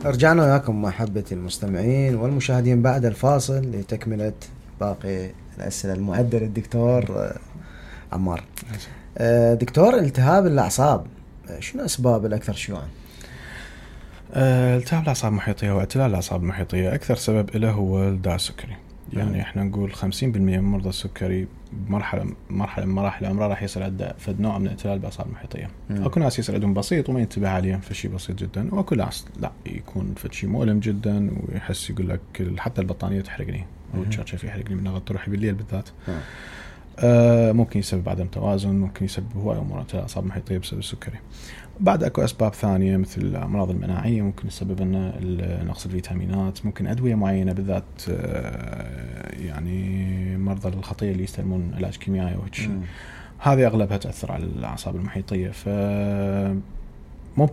رجعنا وياكم محبة المستمعين والمشاهدين بعد الفاصل لتكملة باقي الأسئلة المعدة للدكتور عمار. دكتور، التهاب الأعصاب شنو أسباب الأكثر شيوعا؟ التهاب الأعصاب المحيطية واعتلال الأعصاب المحيطية أكثر سبب له هو الداء السكري. يعني احنا نقول 50% من مرضى السكري بمرحلة من مراحل عمره راح يصير عنده فد نوع من اعتلال الأعصاب المحيطية. اكو ناس يصير عندهم بسيط وما ينتبه عليه فشي بسيط جدا، واكو ناس لا يكون فشي مؤلم جدا ويحس يقول لك حتى البطانية تحرقني او تشرشف يحرقني من ضغط روحي بالليل بالذات. ممكن يسبب عدم توازن، ممكن يسبب هواي امور اعتلال الأعصاب المحيطية بسبب السكري. بعد اكو اسباب ثانيه مثل الامراض المناعيه ممكن تسبب لنا نقص الفيتامينات، ممكن ادويه معينه بالذات يعني مرضى الخطيه اللي يستلمون علاج كيميائي وهيك، هذه اغلبها تاثر على الاعصاب المحيطيه، فممكن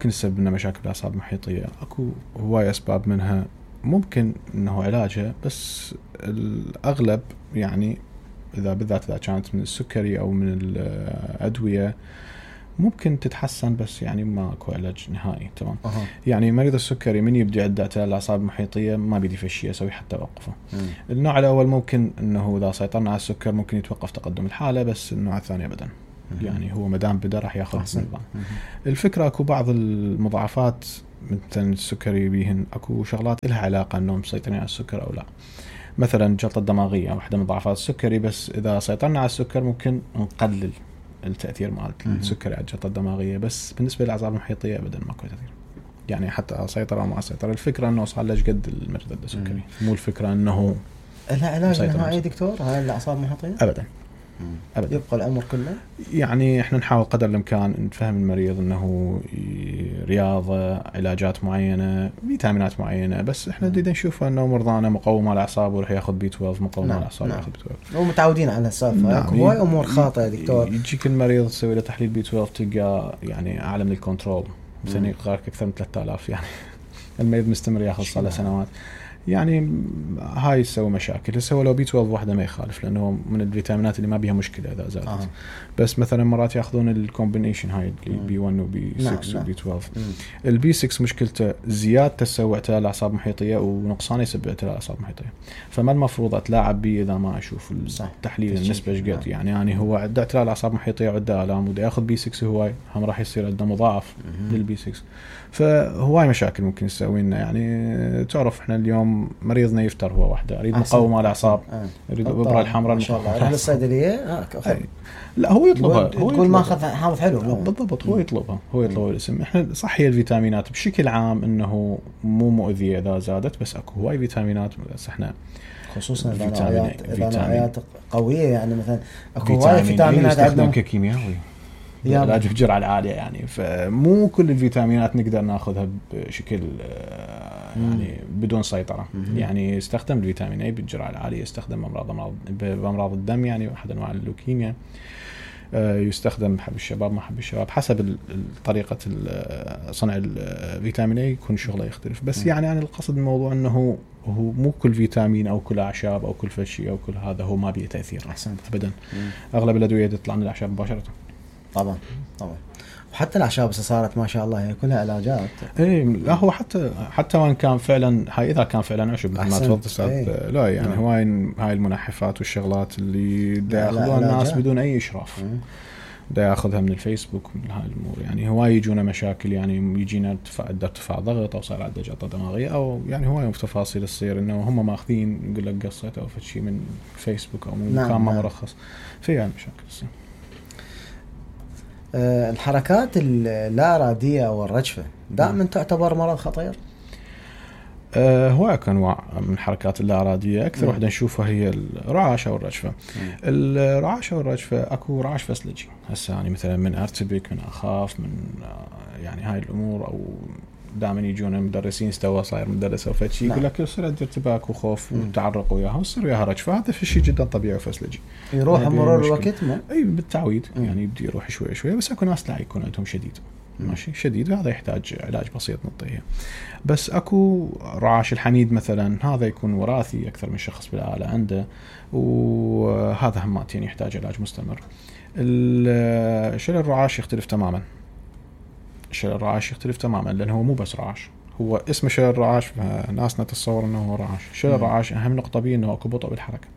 تسبب لنا مشاكل بالاعصاب المحيطيه. اكو هواي اسباب منها ممكن انه علاجها، بس الاغلب يعني بالذات اذا كانت من السكري او من الادويه ممكن تتحسن، بس يعني ما اكو علاج نهائي. تمام. يعني مريض السكري من يبدي عنده اعتلال الاعصاب المحيطيه ما بيدي فشي يسوي حتى توقفه. النوع الاول ممكن انه اذا سيطرنا على السكر ممكن يتوقف تقدم الحاله، بس النوع الثاني ابدا. يعني هو مدام بدا راح ياخذ نظام. الفكره اكو بعض المضاعفات مثلا السكري بيهن اكو شغلات لها علاقه انهم مسيطرين على السكر او لا. مثلا جلطه دماغيه واحده من مضاعفات السكري، بس اذا سيطرنا على السكر ممكن نقلل التأثير مال السكري على الجلطة الدماغية، بس بالنسبة للأعصاب المحيطية أبدا ماكو تأثير. يعني حتى سيطر أو ما سيطر، الفكرة أنه صار ليش قد المريض عنده سكري، مو الفكرة أنه لها علاج نهائي دكتور هاي الأعصاب المحيطية؟ أبدا. يبقى العمر كله. يعني احنا نحاول قدر الامكان نفهم المريض انه رياضه، علاجات معينه، فيتامينات معينه، بس احنا بدنا نشوف انه مرضانا مقوم على الاعصاب وراح ياخذ بي 12 مقوم على الاعصاب ياخذ بي 12. هو متعودين على السالفه. هواي امور خاطئه دكتور. يجيك المريض تسوي له تحليل بي 12 تلقى يعني اعلى من الكنترول، مثلا يقارك اكثر من 3000. يعني المريض مستمر ياخذ صار له سنوات. يعني هاي تسوي مشاكل. هسه لو بي 12 واحده ما يخالف، لانه من الفيتامينات اللي ما بيها مشكله اذا زادت. بس مثلا مرات ياخذون الكومبينيشن هاي اللي بي 1 وبي 6 وبي 12. البي 6 مشكلته زيادته تسوي اعتلال الاعصاب المحيطيه، ونقصانه يسبب اعتلال الاعصاب المحيطيه. فما المفروض اتلاعب بيه اذا ما اشوف التحليل النسبه ايش قد. يعني هو عنده اعتلال الاعصاب المحيطيه وعنده الام وده ياخذ بي 6 هواي هم راح يصير عنده مضاعف للبي 6. فهواي مشاكل ممكن تسوي لنا. يعني تعرف احنا اليوم مريضنا يفتر هو وحده، يريد مقاومه على الاعصاب، يريد الابره الحمراء ما شاء الله يروح للصيدليه. لا هو يطلبها، هو تقول ما اخذ حافظ حلو. بالضبط. هو يطلبها، هو يطلب الاسم. احنا صح هي الفيتامينات بشكل عام انه مو مؤذيه اذا زادت، بس اكو هواي فيتامينات بس احنا خصوصا فيتامينات قويه. يعني مثلا اكو هواي فيتامينات عندنا كيميائي علاج بجرعة العالية. يعني فمو كل الفيتامينات نقدر ناخذها بشكل يعني بدون سيطرة. يعني يستخدم الفيتامين A بالجرعة العالية، يستخدم بأمراض الدم، يعني أحد أنواع اللوكيميا، يستخدم بحب الشباب ما حب الشباب، حسب طريقة صنع الفيتامين A يكون شغله يختلف. بس يعني القصد الموضوع أنه هو مو كل فيتامين أو كل أعشاب أو كل فشي أو كل هذا هو ما بيه تأثير. أحسنت. أبدا. أغلب الأدوية تطلع من الأعشاب مباشرة. طبعا. وحتى الأعشاب صارت ما شاء الله هي كلها علاجات. ايه لا هو حتى وان كان فعلا هاي اذا كان فعلا عشب مثل ما تفضل استاذ. لا يعني هاي المنحفات والشغلات اللي دا ياخذوها الناس بدون اي اشراف، دا ياخذها من الفيسبوك من هاي الامور. يعني هواي يجونا مشاكل، يعني يجينا ارتفاع ضغط او صار عنده جلطه دماغيه، او يعني هواي تفاصيل تصير انه هم ماخذين يقول لك قصيت او شيء من فيسبوك او من مكان ما مرخص. في مشاكل تصير. الحركات اللا إرادية أو الرجفة دائما تعتبر مرض خطير. هواك أنواع من الحركات اللا إرادية. أكثر واحدة نشوفها هي الرعاش أو الرجفة. الرعاش أو الرجفة أكو رعاش فسلجي هسه، يعني مثلا من أرتبك، من أخاف، من يعني هاي الأمور. أو دائما يجون مدرسين استوى صاير مدرس أو فشي يقول لك يصير عندي ارتباك وخوف وتعرق وياها ويصير وياها رجفة. هذا شيء جدا طبيعي وفسلجي، يروح مرور الوقت ما أي بالتعويض. يعني يبدي يروح شوي شوي. بس أكو ناس لا يكون عندهم شديد ماشي شديد، هذا يحتاج علاج بسيط نعطيه. بس أكو رعاش الحميد مثلا، هذا يكون وراثي أكثر من شخص بالعائلة عنده، وهذا هماتين يحتاج علاج مستمر. شلل الرعاش يختلف تماما. شلل الرعاش يختلف تماما لأنه هو مو بس رعاش، هو اسمه شلل رعاش، فناسنا تتصور انه هو رعاش. شلل رعاش اهم نقطه بيه انه اكو بطء بالحركه.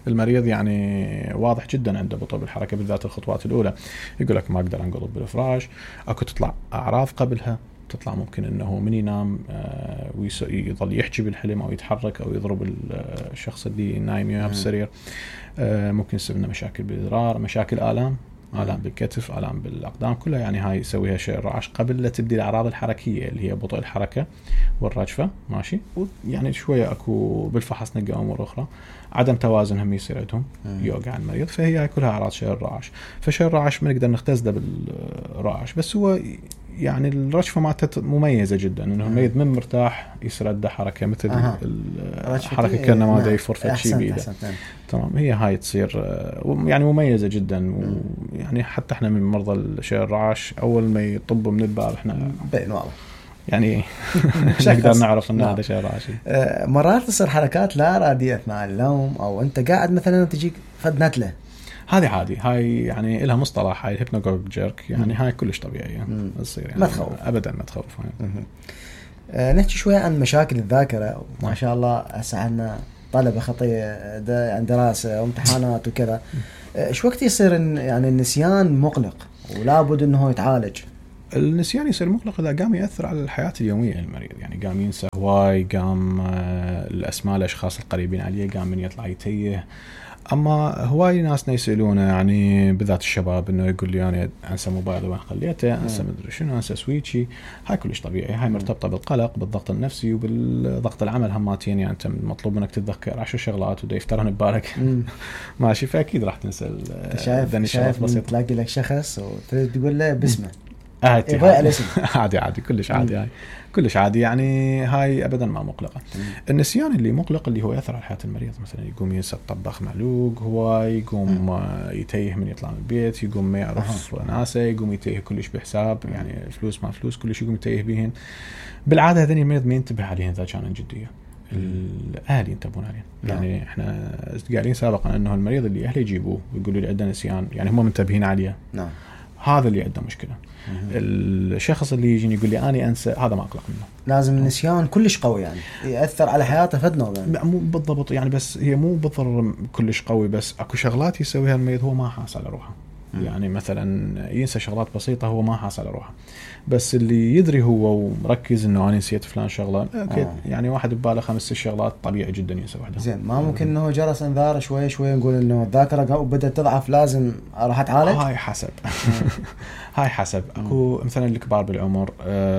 المريض يعني واضح جدا عنده بطء بالحركه بالذات الخطوات الاولى، يقول لك ما اقدر انقلب بالفراش، اكو تطلع اعراض قبلها، تطلع ممكن انه من ينام ويظل يحكي بالحلم او يتحرك او يضرب الشخص اللي نايم وياه بالسرير. ممكن يصير لنا مشاكل بالادرار، مشاكل آلام بالكتف، آلام بالاقدام، كلها يعني هاي يسويها شلل رعاش قبل لا تبدي الاعراض الحركيه اللي هي بطء الحركه والرجفه. ماشي، ويعني شويه اكو بالفحص نلقى امور اخرى، عدم توازن هم يصير عندهم يوقع المريض، فهي كلها اعراض شلل رعاش. فشلل رعاش ما نقدر نختزله بالرعاش، بس هو يعني الرجفه مالته مميزه جدا، انه المريض من مرتاح يصير عنده حركه مثل الحركه كانه ما دا يفرفت شيء بيده. تمام، هي هاي تصير يعني مميزه جدا. ويعني حتى احنا من مرضى الشلل الرعاش اول ما يطبوا من الباب احنا بين والله يعني نقدر نعرف ان هذا شلل رعاش. مرات تصير حركات لا اراديه مع النوم، او انت قاعد مثلا تجيك فد نتله، هذه عادي، هاي يعني لها مصطلح، هاي الهيبنوغوج جيرك، يعني هاي كلش طبيعيه تصير، يعني ما تخوف ابدا، ما تخوف. نحكي شويه عن مشاكل الذاكره. ما شاء الله هسه عندنا طلبه خطيه عن دراسه وامتحانات وكذا، شو وقت يصير يعني النسيان مقلق ولا بد انه يتعالج؟ النسيان يصير مقلق اذا قام ياثر على الحياه اليوميه للمريض، يعني قام ينسى هواي، قام الاسماء الاشخاص القريبين عليه قام من يطلع يتيه. اما هواي ناسنا يسالونه، يعني بالذات الشباب، انه يقول لي انا انسى موبايلي وين خليته، انسى مدري شنو، انسى سويتشي. هاي كلش طبيعي، هاي مرتبطه بالقلق، بالضغط النفسي وبالضغط العمل هماتين. يعني انت مطلوب منك تتذكر 10 شغلات ودا يفترن ببالك ماشي، فاكيد راح تنسى. شايف تلاقي لك شخص وتريد تقول له باسمه يضيع الاسم. عادي كلش عادي، هاي كلش عادي، يعني هاي ابدا ما مقلقه. النسيان اللي مقلق اللي هو ياثر على حياه المريض، مثلا يقوم ينسى الطباخ معلوق، هو يقوم يتيه من يطلع من البيت، يقوم ما يعرف ناسه، يقوم يتيه كلش بحساب، يعني فلوس ما فلوس كلش يقوم يتيه بيهن. بالعاده هذين المريض ما ينتبه عليهن اذا كانوا جديه، الاهل ينتبهون عليهم. يعني احنا قايلين سابقا انه المريض اللي اهله يجيبوه ويقولوا لي عنده نسيان، يعني هم منتبهين عليه، نعم، هذا اللي عنده مشكله. الشخص اللي يجي يقول لي أنا أنسى، هذا ما أقلق منه. لازم النسيان كلش قوي، يعني يأثر على حياته فدنا يعني. مو بالضبط يعني، بس هي مو بالضرر كلش قوي، بس أكو شغلات يسويها المريض هو ما حاس على روحه. يعني مثلا ينسى شغلات بسيطة هو ما حاس على روحه، بس اللي يدري هو ومركز انه انا نسيت فلان شغله، يعني واحد بباله 5 شغلات طبيعي جدا ينسى واحده. زين، ما ممكن انه جرس انذار شوي نقول انه الذاكره بدات تضعف لازم اروح اتعالج؟ هاي حسب هاي حسب. اكو مثلا الكبار بالعمر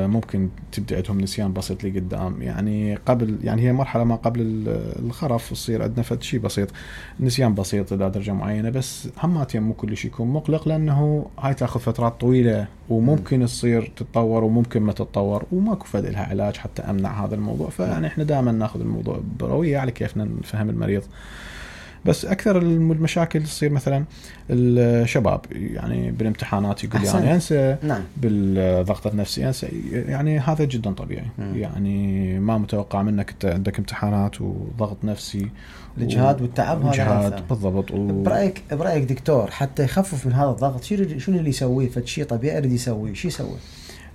ممكن تبدا عندهم نسيان بسيط لقدام، يعني قبل، يعني هي مرحله ما قبل الخرف تصير عندنا فد شيء بسيط، نسيان بسيط الى درجه معينه، بس همات مو كل شيء يكون مقلق، لانه هاي تاخذ فترات طويله وممكن تصير تتطور وممكن ما تتطور، وماكو فد لها علاج حتى امنع هذا الموضوع. فيعني احنا دائما ناخذ الموضوع برويه على كيفنا نفهم المريض. بس اكثر المشاكل تصير مثلا الشباب، يعني بالامتحانات يقول يعني انسى، نعم، بالضغط النفسي انسى، يعني هذا جدا طبيعي. يعني ما متوقع منك انت عندك امتحانات وضغط نفسي، الإجهاد والتعب، هذا بالضبط. برأيك دكتور حتى يخفف من هذا الضغط شنو اللي يسويه؟ فشي طبيعي يريد يسويه، شو يسوي؟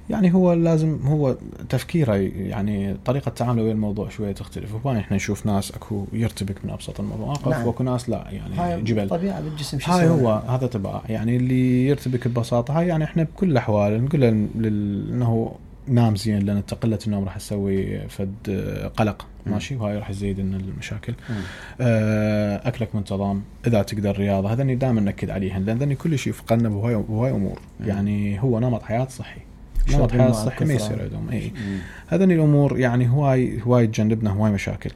يعني هو لازم، هو تفكيره، يعني طريقة تعامله ويا الموضوع شوية تختلف. وهنا احنا نشوف ناس اكو يرتبك من ابسط المواقف، نعم، واكو ناس لا، يعني هاي جبل طبيعة بالجسم. هاي هو هذا تبع، يعني اللي يرتبك ببساطة هاي، يعني احنا بكل الاحوال نقول له انه نام زين، لان قلة النوم راح تسوي فد قلق، ماشي، وهاي راح يزيد لنا المشاكل. اكلك منتظم، اذا تقدر رياضة، هذا دائما نأكد عليهن، لان كل شيء يفقدنا بهاي امور. يعني هو نمط حياة صحي، نمط حياة صحي ما يصير عندهم هذين الامور، يعني هواي تجنبنا هواي مشاكل.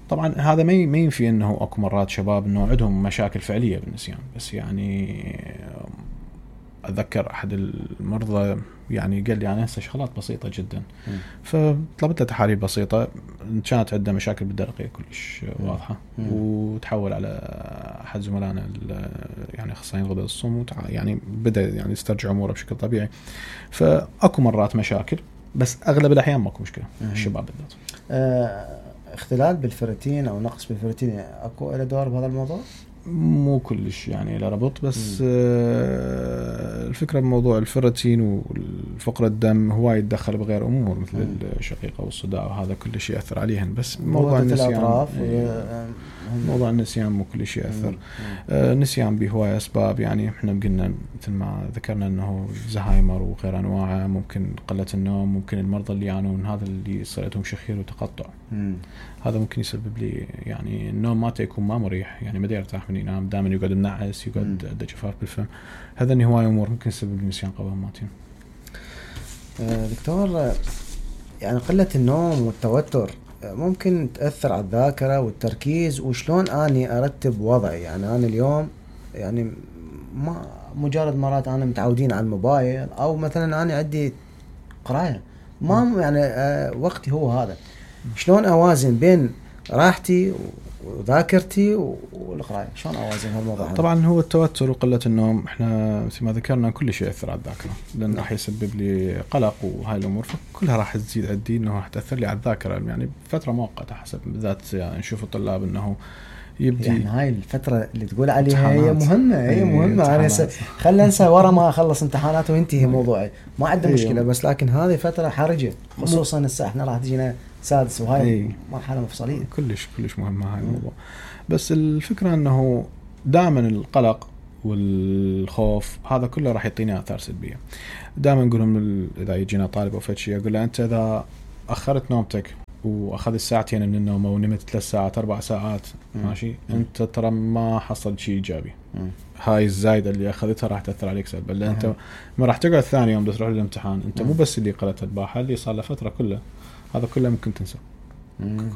طبعا هذا ما ينفي انه اكو مرات شباب انه عندهم مشاكل فعليه بالنسيان، بس يعني اتذكر احد المرضى يعني قال لي انا انسى شغلات بسيطه جدا، فطلبت له تحاليل بسيطه، كانت عنده مشاكل بالدرقيه كلش واضحه، وتحول على احد زملائنا يعني اخصائيين غدد الصم، يعني بدا يعني يسترجع اموره بشكل طبيعي. فاكو مرات مشاكل، بس اغلب الاحيان ماكو مشكله. الشباب بالذات اختلال بالفيرتين او نقص بالفيرتين اكو له دور بهذا الموضوع؟ مو كلش يعني له ربط، بس الفكرة بموضوع الفيرتين والفقر الدم هواي يتدخل بغير أمور مثل الشقيقة والصداع، وهذا كل شيء يأثر عليهن. بس موضوع النسيان، موضوع النسيان مو كل شيء يأثر. النسيان بهواي أسباب، يعني احنا قلنا مثل ما ذكرنا انه زهايمر وغير انواعه، ممكن قلة النوم، ممكن المرضى اللي يعانون هذا اللي صار لهم شخير وتقطع، هذا ممكن يسبب لي يعني النوم ما يكون ما مريح، يعني ما يرتاح من ينام، دائما يقعد منعس، يقعد عنده جفاف بالفم. هذا هواي امور ممكن يسبب لي نسيان قبل ماتين. دكتور، يعني قلة النوم والتوتر ممكن تأثر على الذاكرة والتركيز، وشلون أني أرتب وضعي؟ يعني أنا اليوم يعني ما مجرد مرات أنا متعودين على الموبايل، أو مثلا أنا عندي قراية، ما يعني وقتي هو هذا، شلون أوازن بين راحتي وذاكرتي والقراءة؟ شلون أوازن هالموضوع؟ طبعا هو التوتر وقلة النوم احنا مثل ما ذكرنا كل شيء يأثر على الذاكرة، لأن راح يسبب لي قلق وهاي الأمور، فكلها راح تزيد عندي انه راح تأثر لي على الذاكرة، يعني فترة مؤقتة حسب، بالذات يعني نشوف الطلاب انه يبدي يعني هاي الفترة اللي تقول عليها هي مهمة، هي مهمة. أنا خلنا ننسى ورا ما أخلص امتحانات وينتهي موضوعي، ما عندي مشكلة، بس لكن هذه فترة حرجة، خصوصا الساعة احنا راح تجينا سادس، وهاي مرحلة مفصلية. كلش مهمة هاي الموضوع. بس الفكرة انه دائما القلق والخوف هذا كله راح يعطينا آثار سلبية. دائما نقولهم اذا يجينا طالب او فد شيء، اقول له انت اذا اخرت نومتك واخذ ساعتين من النوم ونمت 3 ساعات 4 ساعات ماشي، انت ترى ما حصل شيء ايجابي. هاي الزايده اللي اخذتها راح تاثر عليك سلبا، لان انت ما راح تقعد ثاني يوم تروح للامتحان، انت مو بس اللي قلت الباحه، اللي صار له فتره كله هذا كله ممكن تنسى،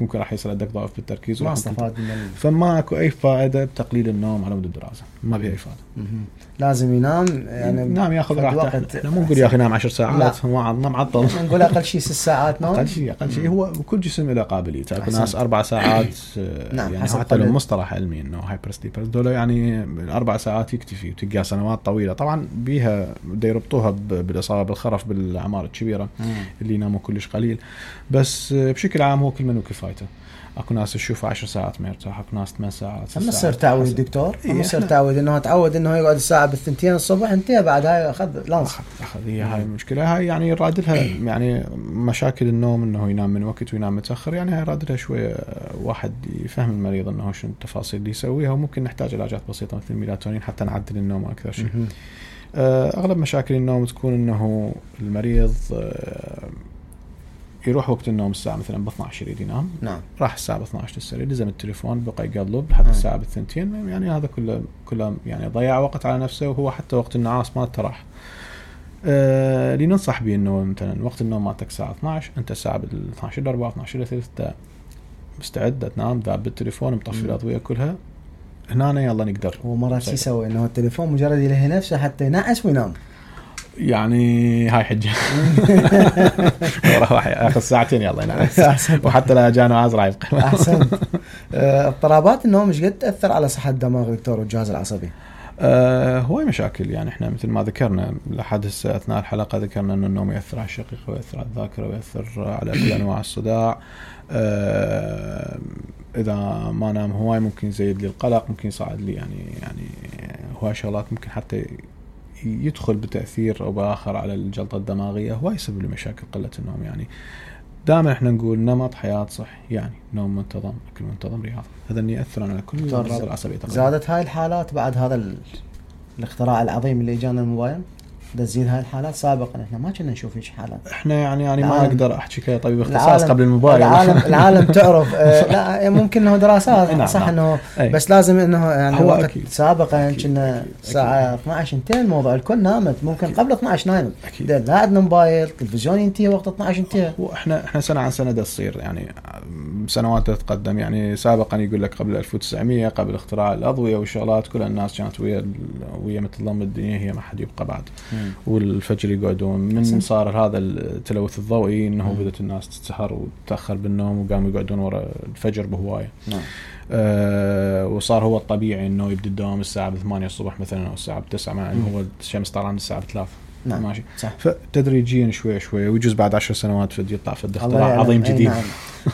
ممكن راح يصير عندك ضعف بالتركيز، ما استفاد فما اكو اي فائده بتقليل النوم على مود الدراسه، ما بها اي فائده. لازم ينام، يعني ينام ياخذ راحته. احنا مو نقول يا اخي نام 10 ساعات، ما معطل، نقول اقل شيء 6 ساعات نوم. اقل شيء هو كل جسم له قابليته. اكو ناس 4 ساعات نعم، يعني حتى لو مصطلح علمي انه هايبر سليبرز دول يعني 4 ساعات يكتفي، وتلقى سنوات طويله. طبعا بيها بده يربطوها بالاصابه بالخرف بالاعمار الكبيره اللي يناموا كلش قليل، بس بشكل عام هو كل من وكفايته. اكو ناس تشوف 10 ساعات ما يرتاح، اكو ناس 8 ساعات. اما يصير تعود دكتور، اما يصير تعود انه تعود انه يقعد الساعه بالثنتين الصبح، انتهى بعد هاي اخذ لانس. هي هاي المشكله، هاي يعني رادلها يعني مشاكل النوم، انه ينام من وقت وينام متاخر، يعني هاي رادلها شويه واحد يفهم المريض انه شنو التفاصيل اللي يسويها، وممكن نحتاج علاجات بسيطه مثل الميلاتونين حتى نعدل النوم اكثر شيء. اغلب مشاكل النوم تكون انه المريض يروح وقت النوم الساعة مثلا ب12 يريد ينام، نعم، راح الساعة ب12 للسرير، لزم التليفون بقى يقلب لحد الساعة بالثنتين، يعني هذا كله يعني ضيع وقت على نفسه، وهو حتى وقت النعاس ما تراح. اللي ننصح به انه مثلا وقت النوم مالتك الساعة 12، انت الساعة بال12 ل 4 12 ل 3 مستعد تنام، ذاب بالتليفون مطفي الأضوية كلها، هنا يلا نقدر. ومرات شو يسوي انه التليفون مجرد يلهي نفسه حتى ينعس وينام، يعني هاي حجة. راح ياخذ ساعتين يلا ينعس، وحتى لا جانو عازرع يبقى. احسن. اضطرابات النوم ايش قد تاثر على صحه الدماغ دكتور والجهاز العصبي؟ هواي مشاكل، يعني احنا مثل ما ذكرنا لحد هسه اثناء الحلقه ذكرنا ان النوم ياثر على الشقيقه وياثر على الذاكره وياثر على كل انواع الصداع. اذا ما نام هواي ممكن يزيد لي القلق، ممكن يصعد لي يعني هواي شغلات ممكن حتى يدخل بتأثير أو بآخر على الجلطة الدماغية، هو يسبب لي مشاكل قلة النوم. يعني دائما احنا نقول نمط حياة صح، يعني نوم منتظم، أكل منتظم، رياضة، هذا اللي يأثر على كل الأمراض العصبية. زادت هاي الحالات بعد هذا الاختراع العظيم اللي جانا الموبايل، تزيد هاي الحالات. سابقا احنا ما كنا نشوف هيك حالات. احنا يعني ما اقدر احكي كطبيب اختصاص قبل الموبايل. العالم تعرف لا ممكن انه دراسات صح انه بس لازم انه يعني وقت سابقا كنا الساعه 12 انتهى الموضوع، الكل نامت، ممكن قبل 12 نايم، لا عندنا موبايل، تلفزيون ينتهي وقت 12 انتهى. واحنا سنه عن سنه تصير يعني سنوات تتقدم. يعني سابقا يقول لك قبل 1900 قبل اختراع الاضويه والشغلات كل الناس كانت ويا مثل ضم الدنيا، هي ما حد يبقى بعد، والفجر يقعدون. من صار هذا التلوث الضوئي انه بدأت الناس تتسهر وتتاخر بالنوم وقاموا يقعدون ورا الفجر بهوايه. وصار هو الطبيعي انه يبدا الدوام الساعه 8 الصبح مثلا او الساعه 9 مع انه هو الشمس طالعه من الساعه 3. ماشي صح. فتدريجيا شوي ويجوز بعد 10 سنوات يطلع فد اختراع عظيم جديد.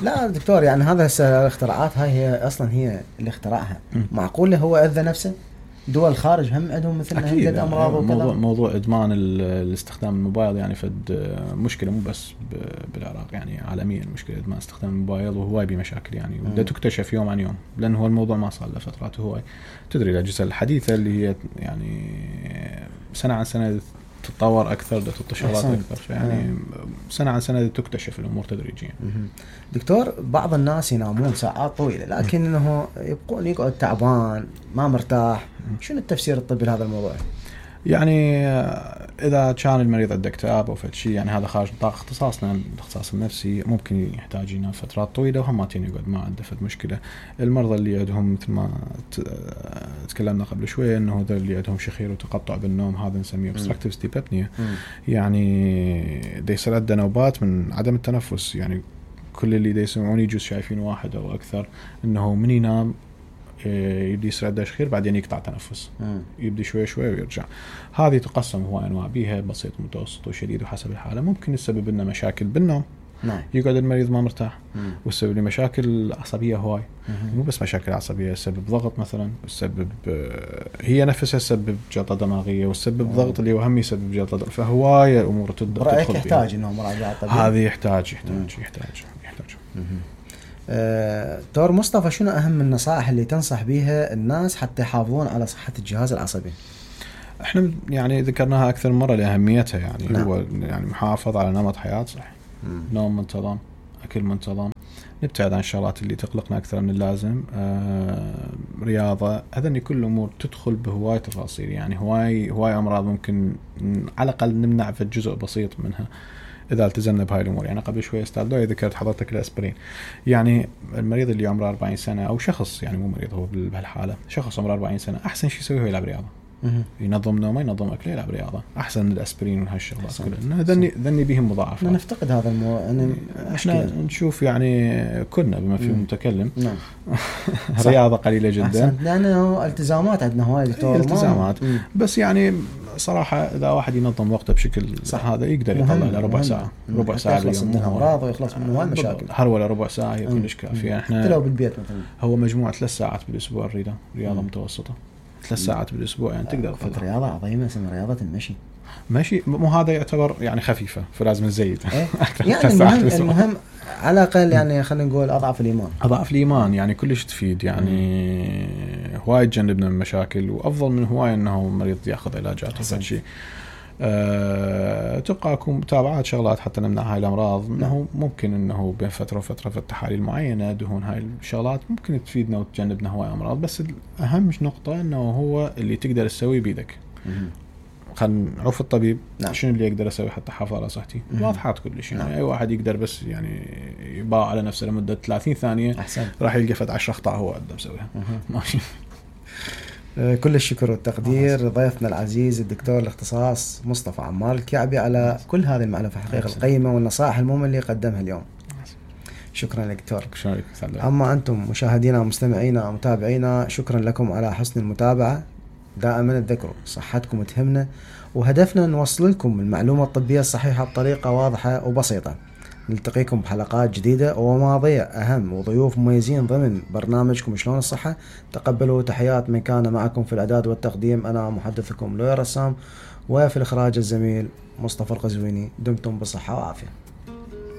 لا دكتور، يعني هذا الاختراعات هاي هي اصلا هي اللي اخترعها. معقول هو اذى نفسه؟ دول الخارج هم عندهم مثل هذه امراض وكذا. موضوع ادمان الاستخدام الموبايل يعني فد مشكله مو بس بالعراق، يعني عالميا مشكله ادمان استخدام الموبايل، وهواي بمشاكل يعني وبدها تكتشف يوم عن يوم، لانه هو الموضوع ما صار له فترات. هواي تدري الاجهزه الحديثه اللي هي يعني سنه عن سنه تتطور اكثر، تطور شغلات اكثر، يعني سنه عن سنه تكتشف الامور تدريجيا. دكتور، بعض الناس ينامون ساعات طويله لكنه يقعد تعبان ما مرتاح، شنو التفسير الطبي لهذا الموضوع؟ يعني اذا كان المريض عنده اكتئاب او فد شيء، يعني هذا خارج نطاق اختصاصنا الاختصاص النفسي، ممكن يحتاج ينام فترات طويله وهماتين يقعد ما عنده فد مشكله. المرضى اللي عندهم مثل ما تكلمنا قبل شويه انه هذول اللي عندهم شخير وتقطع بالنوم، هذا نسميه obstructive sleep apnea، يعني دا يصير عنده نوبات من عدم التنفس. يعني كل اللي دا يسمعون يجوز شايفين واحد او اكثر انه من ينام يبدي يصير عنده شخير بعدين يقطع تنفس، يبدي شوي شوي ويرجع. هذه تقسم هو انواع بيها، بسيط متوسط وشديد وحسب الحاله. ممكن يسبب لنا مشاكل بالنوم، يقعد المريض ما مرتاح، ويسبب له مشاكل عصبيه هواي. مو بس مشاكل عصبيه، يسبب ضغط مثلا، يسبب هي نفسها تسبب جلطه دماغيه، ويسبب ضغط اللي هو هم يسبب جلطه. فهواي امور تدخل يحتاج انه مراجعه طبيب. هذه يحتاج. دكتور مصطفى، شنو أهم النصائح اللي تنصح بها الناس حتى يحافظون على صحة الجهاز العصبي؟ احنا يعني ذكرناها أكثر مرة لأهميتها، يعني هو يعني محافظ على نمط حياة صحي، نوم منتظم، أكل منتظم، نبتعد عن الشغلات اللي تقلقنا أكثر من اللازم، رياضة. هذني كل أمور تدخل بهواي تفاصيل، يعني هواي أمراض ممكن على الأقل نمنع في جزء بسيط منها إذا التزمنا بهاي الأمور. يعني قبل شوية أستاذ دوي ذكرت حضرتك الأسبرين. يعني المريض اللي عمره 40 سنة أو شخص، يعني مو مريض هو بهالحالة، شخص عمره 40 سنة، أحسن شيء يسويه هو يلعب رياضة، ينظم نومه، ينظم أكله، يلعب رياضة، أحسن من الأسبرين وهالشغلات كلها. ذني بهم مضاعفات. نفتقد هذا احنا نشوف يعني كنا بما فيه متكلم رياضة قليلة جدا، لأنه التزامات عندنا هواي دكتور، التزامات بس يعني صراحة إذا واحد ينظم وقته بشكل صح هذا يقدر يطلع له ربع ساعة يخلص منها أمراض ويخلص منها المشاكل. ولا ربع ساعة هي كلش كافية. إحنا لو بالبيت مثلا هو مجموعة 3 ساعات بالأسبوع رياضة متوسطة، 3 ساعات بالأسبوع يعني تقدر تفضل. رياضة عظيمة اسمها رياضة المشي. ماشي، مو هذا يعتبر يعني خفيفة، فلازم نزيد. يعني المهم على الأقل يعني خلينا نقول أضعف الإيمان يعني كلش تفيد، يعني هواي تجنبنا من مشاكل، وأفضل من هواي أنه مريض يأخذ علاجات وفد شيء. تبقى أكون متابعات شغلات حتى نمنع هاي الأمراض. أنه ممكن أنه بين فترة وفترة في التحاليل معينة دهون، هاي الشغلات ممكن تفيدنا وتجنبنا هواي أمراض. بس الأهم نقطة أنه هو اللي تقدر تسوي بيدك. خلنا نعوف الطبيب شنو اللي يقدر اسوي حتى احافظ على صحتي. واضحات كل شيء، يعني اي واحد يقدر بس يعني يباع على نفسه لمده 30 ثانيه أحسن. راح يلقى فد 10 اخطاء هو قدر مسويها. ماشي. كل الشكر والتقدير ضيفنا العزيز الدكتور الاختصاص مصطفى عمار الكعبي على كل هذه المعلومات الحقيقة القيمة والنصائح المهمة اللي قدمها اليوم. شكرا لك دكتور. أما أنتم مشاهدينا ومستمعينا ومتابعينا، شكرا لكم على حسن المتابعة. دائما تذكروا صحتكم تهمنا، وهدفنا نوصل لكم المعلومة الطبية الصحيحة بطريقة واضحة وبسيطة. نلتقيكم بحلقات جديدة ومواضيع أهم وضيوف مميزين ضمن برنامجكم شلون الصحة. تقبلوا تحيات من كان معكم في الإعداد والتقديم، أنا محدثكم لؤي رسام، وفي الإخراج الزميل مصطفى القزويني. دمتم بصحة وعافية.